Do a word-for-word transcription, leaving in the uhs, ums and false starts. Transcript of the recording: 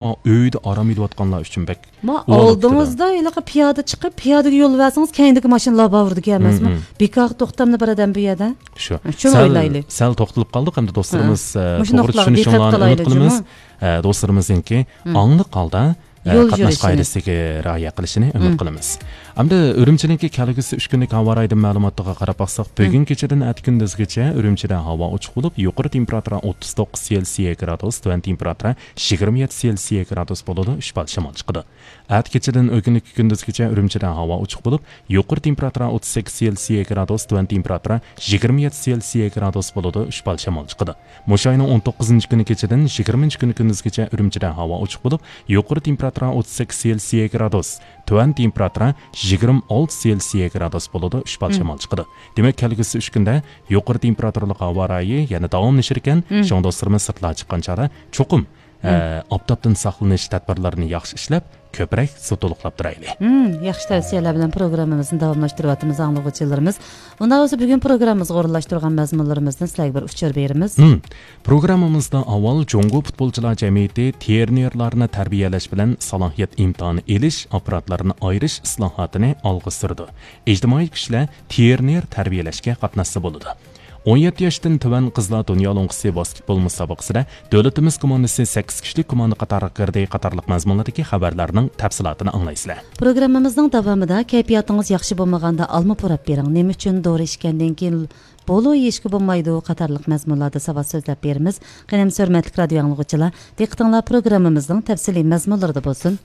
ئۆيدە ئارام ئېلىۋاتقانلار ئۈچۈن بەك ما ئۇلىنىپ ئالدىڭىزدا ھېلىقى پىيادە چىقىپ، پىيادىگە يول بەرسىڭىز، كەينىدىكى ماشىنىلار باۋۇرىدىكى ئەمەسمۇ؟ مم، مم. بىكارغا توختامدۇ بىر ئادەم بۇ يەردە؟ شۇ. شۇنى سەل، ئويلايلى. سەل توختىلىپ قالدۇق، ئەمدى دوستلىرىمىز، ھە. ئە، مۇشۇ توغرا نۇقتىلارغا چۈشىنىشىڭلارنى ئۈمىد قىلىمىز. ئە، دوستلىرىمىزنىڭكى مم. ئاڭلىق ھالدا، ئە، يول قاتناش يۈرۈشىنى. قائىدىسىگە رىئايە قىلىشىنى ئۈمىد مم. قىلىمىز. ئەمدى ئۈرۈمچىنىڭكى كەلگۈسى ئۈچ كۈنلۈك ھاۋا رايى مەلۇماتىغا قاراپ باقساق، مم. بۈگۈن كېچىدىن ئەتە كۈندۈزگىچە ئۈرۈمچىدە ھاۋا ئوچۇق بولۇپ، يۇقىرى تېمپېراتۇرا ئوتتۇز توققۇز سېلسىيە گرادۇس، تۆۋەن تېمپېراتۇرا يىگىرمە يەتتە سېلسىيە گرادۇس بولىدۇ، ئۈچ بال شامال چىقىدۇ. ئەتە كېچىدىن ئۆگۈنلۈك كۈندۈزگىچە ئۈرۈمچىدە ھاۋا ئوچۇق بولۇپ، يۇقىرى تېمپېراتۇرا ئوتتۇز سەككىز سېلسىيە گرادۇس، تۆۋەن تېمپېراتۇرا يىگىرمە يەتتە سېلسىيە گرادۇس بولىدۇ، ئۈچ بال شامال چىقىدۇ. مۇشۇ ئاينىڭ ئون توققۇزىنچى كۈنى كېچىدىن يىگىرمىنچى كۈنى كۈندۈزگىچە ئۈرۈمچىدە ھاۋا ئوچۇق بولۇپ، يۇقىرى تېمپېراتۇرا ئوتتۇز سەككىز سېلسىيە گرادۇس، تۆۋەن تېمپېراتۇرا يىگىرمە ئالتە سېلسىيە گرادۇس بولىدۇ، ئۈچ بال مم. شامال چىقىدۇ. دېمەك، كەلگۈسى ئۈچ كۈندە يۇقىرى تېمپېراتۇرىلىق ھاۋا رايى يەنە داۋاملىشىدىكەن. مم. شۇڭا دوستلىرىمىز سىرتلارغا چىققان چاغدا چوقۇم، مم. ئە، ئاپتاپتىن ساقلىنىش تەدبىرلىرىنى ياخشى ئىشلەپ، كۆپرەك سۇ تولۇقلاپ تۇرايلى. مم، ياخشى تەۋسىيەلەر بىلەن پروگراممىمىزنى داۋاملاشتۇرۇۋاتىمىز، ئاڭلىغۇچىلىرىمىز. ئۇنداق بولسا، بۈگۈن پروگراممىمىزغا ئورۇنلاشتۇرغان مەزمۇنلىرىمىزدىن سىلەرگە بىر ئۇچۇر بېرىمىز. مم. پروگراممىمىزدا ئاۋۋال جۇڭگو پۇتبولچىلار جەمئىيىتى ترېنېرلارنى تەربىيەلەش بىلەن سالاھىيەت ئىمتىھانى ئېلىش ئاپپاراتلىرىنى ئايرىش ئىسلاھاتىنى ئالغا سۈرىدۇ. ئىجتىمائىي كۈچلەر ترېنېر تەربىيەلەشكە قاتناشسا بولىدۇ. ئون يەتتە ياشتىن تۆۋەن قىزلار دۇنيا لوڭقىسى ۋاسكېتبول مۇسابىقىسىدە دۆلىتىمىز كوماندىسى سەككىز كىشىلىك كوماندا قاتارىغا كىردى قاتارلىق مەزمۇنلاردىكى خەۋەرلەرنىڭ تەپسىلاتىنى ئاڭلايسىلەر. پروگراممىمىزنىڭ داۋامىدا كەيپىياتىڭىز ياخشى بولمىغاندا ئالما پۇراپ بېرىڭ، نېمە ئۈچۈن دورا ئىچكەندىن كېيىن بولۇ يېيىشكە بولمايدۇ قاتارلىق مەزمۇنلاردا ساۋات سۆزلەپ بېرىمىز. قېنى، ھۆرمەتلىك رادىيو ئاڭلىغۇچىلار، دىققىتىڭلار پروگراممىمىزنىڭ تەپسىلىي مەزمۇنلىرىدا بولسۇن.